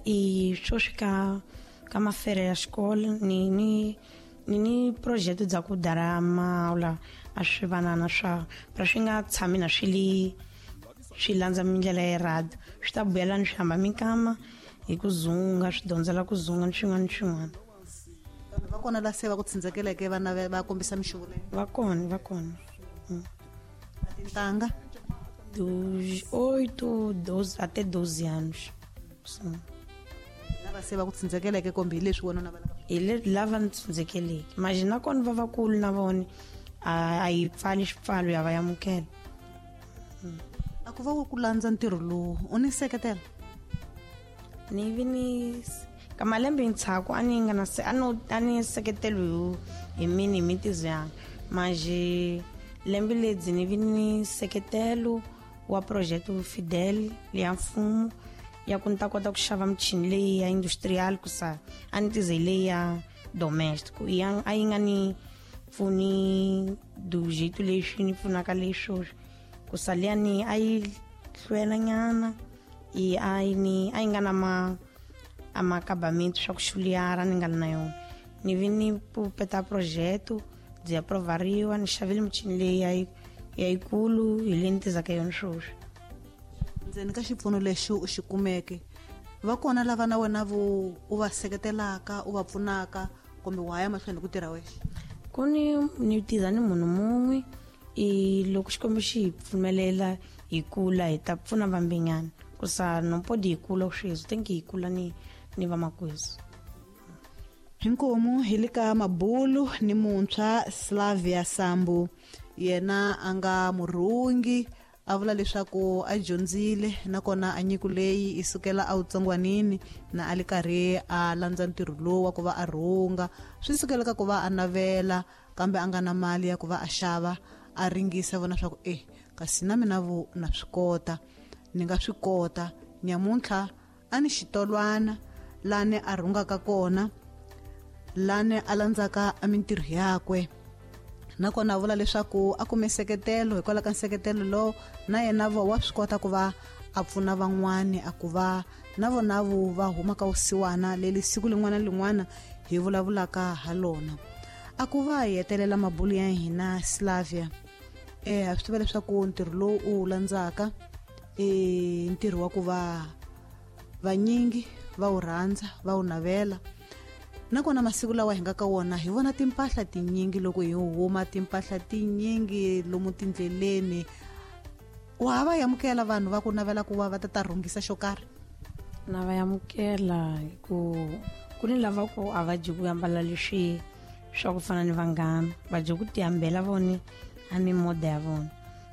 I swoswi ka mafere ya xikolo ni project dza ku dara mawula a swi vanana swa pra swi nga tshami na swi li swi landza mindlela ya rad swi ta vuyela ni swi hamba minkama hi ku zunga swi dyondzela ku zunga ni swin'wana ni swin'wana. Va kona la se va ku tsindzekeleke vana va kombisa mixuvo leyi? Va kona, va kona. Tintangha? Dos 8, 12 até 12 anos. Sim. Lava se va ku tsindzekeleke kumbe hi leswi wena u navelaka? Hi lava ni tsindzekeleke. Manje na kona va vakulu na vona a yi pfali xipfalo ya va amukela. A ku va ku landza ntirho lowu u ni seketela? Ni vi ni ka malembe ntshaku a ni nga na se a no a ni seketelo hi mini hi mitizo yanga. Manje lembe ledzi ni vi ni seketelo wa project Fidel ya mfumo ya ku ni ta kota ku xava michini leyi ya industrial ku sa a ni tize leyi ya domestic ya a yi nga ni pfuni do jeito lexi ni pfunaka leswo ku sa liya ni a yi hlwela nyana i a yi ni a yi nga na ma a makabamento swa ku xuliara ni nga na yona ni vi ni peta projeto byi aprovariwa ni xavile michini leyi ya yikulu hi leyi ni tizaka yona swoswi. Ndzeni ka xipfuno lexi u xi kumeke va kona lava na wena vo u va seketelaka u va pfunaka kumbe wa ya mahlweni ku tirha wexe? Ku ni tiza ni munhu mun'we i loko Xikwembu xi hi pfumelela hi kula hi ta pfuna vambinyana ku sa no podi hi kula sweswi thank you hi kula ni vamakwezu. Hinkomu hi le ka mabulu ni muntshwa Slavia Sambu yena a nga murhungi a vula leswaku a dyondzile nakona a nyiko leyi i sukela a wutsongwanini na a li karhi a landza ntirho lowu wa ku va a rhunga swi sukela ka ku va a navela kambe a nga na mali ya ku va a xava a ringisa vona swa ku kasi na mina vo na swi kota ni nga swi kota nyamuntlha a ni xitolwana lani a rhungaka kona lani a landzaka a mintirho yakwe nakona a vula leswaku a kume nseketelo hikwalaho ka nseketelo lowu na yena vo wa swi kota ku va a pfuna van'wani a ku va na vona vo va huma ka vusiwana leli siku lin'wana na lin'wana hi vulavulaka ha lona. A ku va hi hetelela mabulu ya hina Slavia ha swi tiva leswaku ntirho lowu u wu landzaka i ntirho wa ku va vanyingi va wu rhandza va wu navela nakona masiku lawa hi nga ka wona hi vona timpahla tinyingi loko hi huma timpahla tinyingi lomu tindleleni wa ha va amukela vanhu va ku navela ku va va ta rhungisa xo karhi? Na va amukela ku ni lava ku a va dyi ku ambala leswi swa ku fana ni vanghana va dyi ku tihambela vona a mimoda ya vona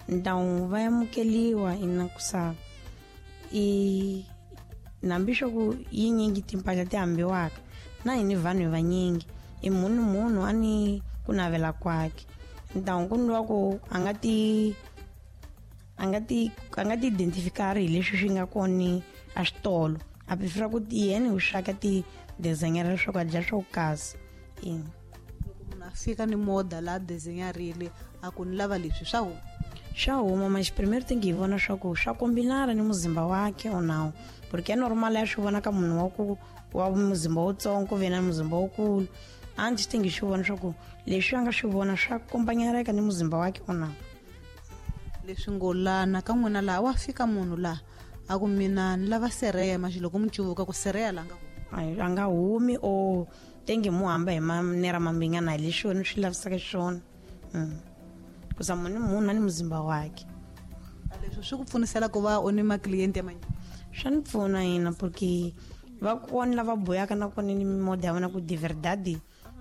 ntawu va amukeliwa ina ku sa i nambi swa ku yinyingi timpahla ti hambiwaka na hini vanhu vanyingi i munhu munhu a ni ku navela kwakhe ntawu ku ni wa ku a nga ti identifikari hi leswi swi nga kona a switolo a prefera ku yena hi swaka ti designer leswaku a dya swo kasi. Munhu a fika ni moda la designerile a ku ni lava leswi swa huma swa huma mas primeiro tem que hi vona swa ku swa kombinana ni muzimba wakhe ou não porque é normal ya swi vona ka munhu wa ku wa muzimba wutsongo ku ve na muzimba wukulu antes tem que swi vona swa ku leswi a nga swi vona swa kombanyareka ni muzimba wakhe ou não. Leswi ngo lana ka n'wina laha wa fika munhu laha a ku mina ni lava sereya manje loko mi cuvuka ku sereya la nga humi a nga humi o tem que mu hamba hi manera mambingana hi leswi wena swi lavisaka xiswona ku sa munhu munhu a ni muzimba wakhe. Leswi swi ku pfunisela ku va u ni maklienti ya manyingi? Swa ni pfuna yena porque va kona lava boyaka na kona ni mimoda ya vona ku de verdade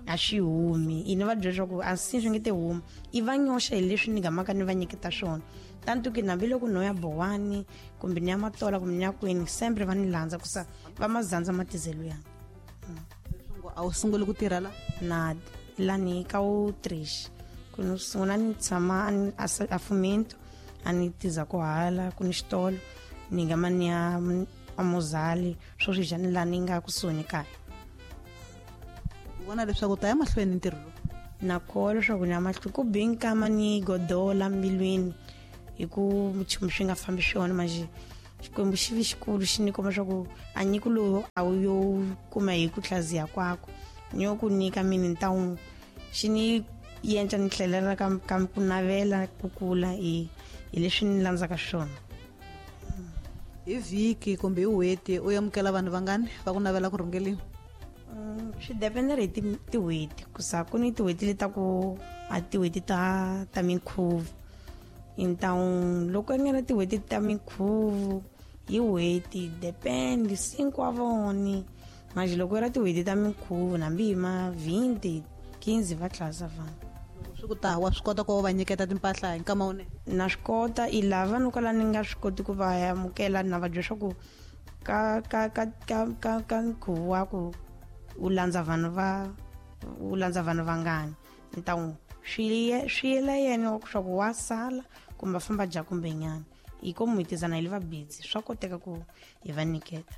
a swi humi i ni va byela leswaku a si swi nge te humi i va nyoxa hi leswi ni gamaka ni va nyiketa swona tanto ke nambi loko no ya bowani kumbe ni ya matola kumbe ni ya kwini sempre va ni landza ku sa va mazandza matizelo ya. A wu sunguli ku tirha la? Na lani ka wu trish ku ni sungula ni tshama a fumento a ni tiza ku hala ku ni xitolo ni nga mani ya amozali swo swi dya ni la ni nga kusuhi ni kaya. U vona leswaku ta ya mahlweni ntirho lowu? Na kholwa leswaku ni ya mahlweni ku bi nkama ni godola mbilwini hi ku nchumu swi nga fambi swona manje Xikwembu xi vi xikulu xi ni komba swa ku a nyiko lowu a wu yo kuma hi ku hlaziya kwako ni yo ku nyika mini ni ta n'wi xi ni yenca ni tlhelela ka ku navela ku kula hi leswi ni landzaka swona. Hi vhiki kumbe hi n'hweti u amukela vanhu vangani va ku navela ku rhungeliwa? Swi dependere hi tin'hweti, ku sa ku ni tin'hweti leti ta ku a tin'hweti ta minkhuvo. Ntawu loko nga na tin'hweti ta minkhuvo hi n'hweti depend 5 wa voni manje loko ra tin'hweti ta minkhuvo hambi hi ma 20 15 va tlhasa vanhu. Swi ku ta wa swi kota ku va nyiketa timpahla hi nkama wunene? Na swi kota i lava no kala ni nga swi koti ku va amukela na va byela swa ku ka ka ka ka ka ka nkhuvo wa ku u landza vanhu va u landza vanhu vangani ntawu swi yela yena swa ku wa sala kumbe famba dya kumbe nyana hi ko muhitizana hi le va busy swa koteka ku hi va nyiketa.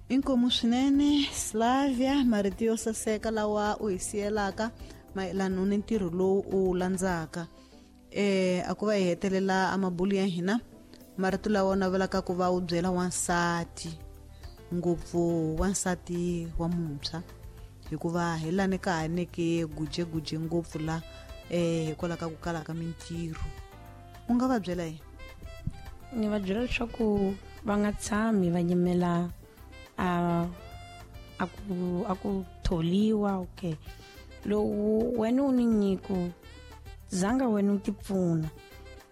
Inkomu swinene Slavia, marito yo saseka lawa u hi siyelaka mayelana ni ntirho lowu u wu landzaka. A ku va hi hetelela amabulu ya hina, marito lawa u navelaka ku va u byela wansati, ngopfu wansati wa muntshwa, hikuva hi lani ka ha neke gujeguje ngopfu la hikwalaho ka ku kala ka mintirho, u nga va byela yini? Ni va byela leswaku va nga tshami va yimela a ku tholiwa. Okay, lowu wena u ni nyiko zanga wena u ti pfuna,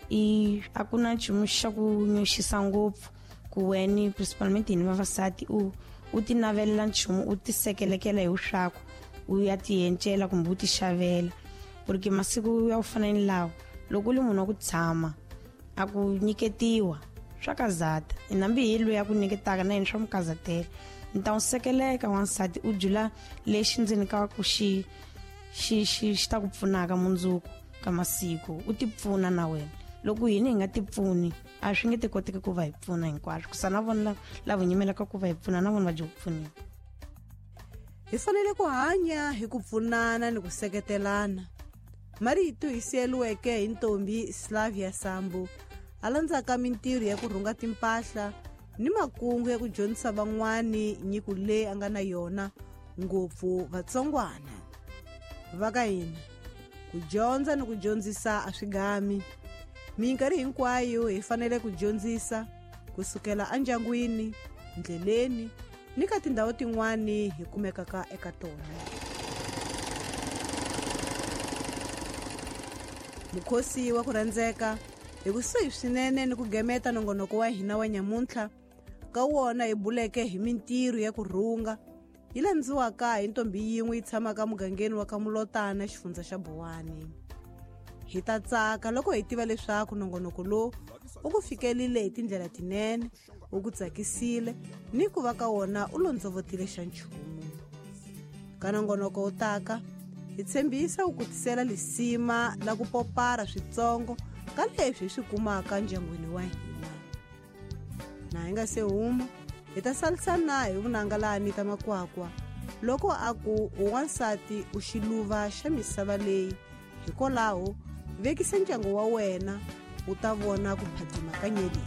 i a ku na nchumu xa ku nyoxisa ngopfu ku wena principalmente hina vavasati u ti navelela nchumu u ti sekelekela hi swaku u ya ti encela kumbe u ti xavela, porque masiku ya ku fana ni lawa loko u ri munhu wa ku tshama a ku nyiketiwa swa kazata hambi hi loyi a ku nyiketaka na yena swa mukazatela. Ni ta n'wi sekeleka wansati u byula lexi ndzeni ka ku xi xi xi xi ta ku pfunaka mundzuku ka masiku u ti pfuna na wena. Loko hina hi nga ti pfuni a swi nge ti koteki ku va hi pfuna hinkwaswo, ku sa na vona lava nyimelaka ku va hi pfuna na vona va dya ku pfuniwa. Hi fanele ku hanya hi ku pfunana ni ku seketelana. Marito hi siyeliweke hi ntombi Slavia Sambu a landzaka mintirho ya ku rhunga timpahla ni makungu ya ku dyondzisa van'wani nyiko leyi a nga na yona, ngopfu vatsongwana. Va ka hina ku dyondza ni ku dyondzisa a swi gami. Minkarhi hinkwayo hi fanele ku dyondzisa kusukela endyangwini, ndleleni ni ka tindhawu tin'wani hi kumekaka eka tona. Mukhosi wa ku rhandzeka hi kusuhi swinene ni ku gemeta nongonoko wa hina wa nyamuntlha, ka wona hi buleke hi mintirho ya ku rhunga yi landziwaka hi ntombi yin'we yi tshamaka mugangeni wa ka Mulotana, xifundza xa Bowani. Hi ta tsaka loko hi tiva leswaku nongonoko lowu u ku fikelile hi tindlela tinene, wu ku tsakisile ni ku va ka wona u londzovotile xa nchumu. Ka nongonoko wu taka hi tshembisa ku kutisela lisima la ku popara switsongo ka leswi hi swi kumaka ndyangwini wa hina. Na hi nga se huma hi ta salisana hi vunanga la Anita Makwakwa loko a ku wansati u xiluva xa misava leyi, hikwalaho vekisa ndyangu wa wena u ta vona ku phatima ka nyeleti.